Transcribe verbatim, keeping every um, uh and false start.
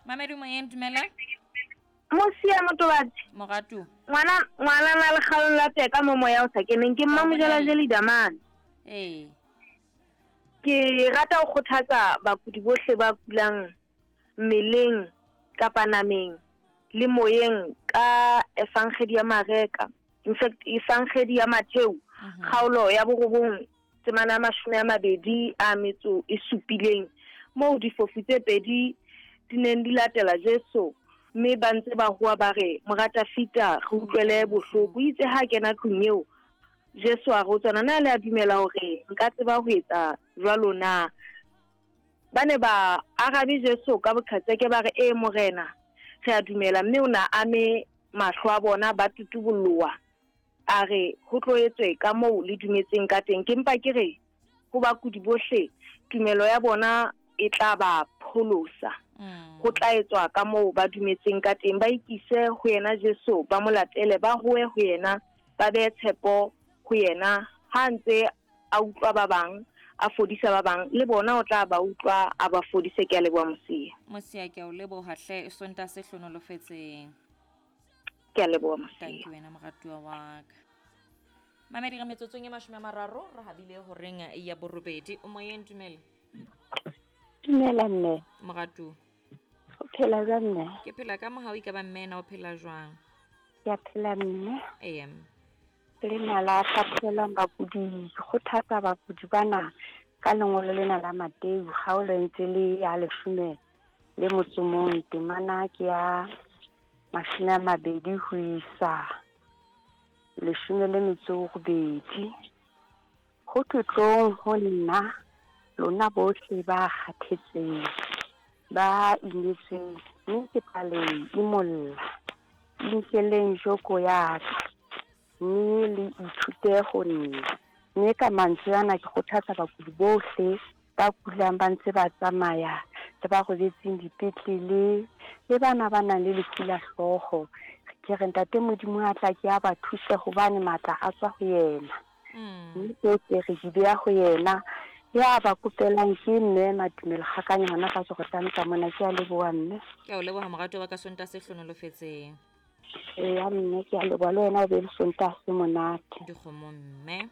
Mamedi moyeng, dumela. Mosia Motobatsi. Moratu. Ngwana ngwana na le kgalong la teka mo moya o sa keneng ke Mmamojela Jeli Damane. Ee. Ke rata ho kgothatsa bakudi bohle ba kulang mmeleng kapa nameng le moyeng ka Evangeli ya Mareka. In fact, Evangeli ya Mattheu, kgaolo ya borobong temana ya mashome a mabedi a metso e supileng, moo difofu tse pedi di neng di latela Jesu mme ba ntse ba howa ba re, Mora Dafita, re utlwele bohloko. Itse ha kena tlung eo, Jesu a re ho tsona, na le a dumela hore nka tseba ho etsa jwalo na? Ba ne ba arabe Jesu ka boqhetseke ba re, ee Morena, re a dumela. Mme o na ame mahlo a bona, ba tutubolloa. A re ho tlo etswe ka moo le dumetseng ka teng. Ke mpa ke re ho bakudi bohle, tumelo ya bona e tla ba pholosa. Ho tla etswa ka moo ba dumetseng ka teng. Ba ikise ho yena Jesu, ba mo latele, ba howe ho yena, ba behe tshepo ho yena. Ha ntse a utlwa ba bang, a fodisa ba bang, le bona o tla ba utlwa a ba fodise. Ke a leboha Mosia. Mosia, ke a o leboha hle, Sontaha se hlonolofetseng. Ke a leboha Mosia. Thank you wena moratuwa wa ka. Mamedi, re metsotsong e mashome a mararo re habile horeng ya borobedi. O moyeng, dumela. Dumela mme. Moratuwa. O phela jwang mme? Ke phela ka mohau, e ka ba mme na o phela jwang? Ke a phela mme. Ee. Le nala hlaphohelang bakudi, kgothatsa bakudi bana ka lengolo lena la Mateu, kgaolo e ntse le ya leshome le motso mong, temana ke ya mashome a mabedi ho isa leshome le metso robedi. Ho thwe tlong ho nna, lona bohle ba kgathetseng, ba imetsweng, mme ke tla le imolla. Inkeleng joko ya ka, mme le ithute ho nna. Mme ka mantswe ana ke kgothatsa bakudi bohle ba kulang ba ntse ba tsamaya, le ba robetseng dipetlele, le bana ba nang le lefu la hlooho. Ke re Ntate Modimo a tla ke a ba thuse hobane matla a tswa ho yena. Mme tsohle re di beha ho yena. Ya ba kopelang ke mme Matumelo Kgakanya hona ka Jordan ka mona. Ke a leboha mme. Ke a o leboha moratuwa wa ka, Sontaha se hlonolofetseng. Eya mme, ke a leboha le wena, o be le Sontaha se monate. Dikgomo mme.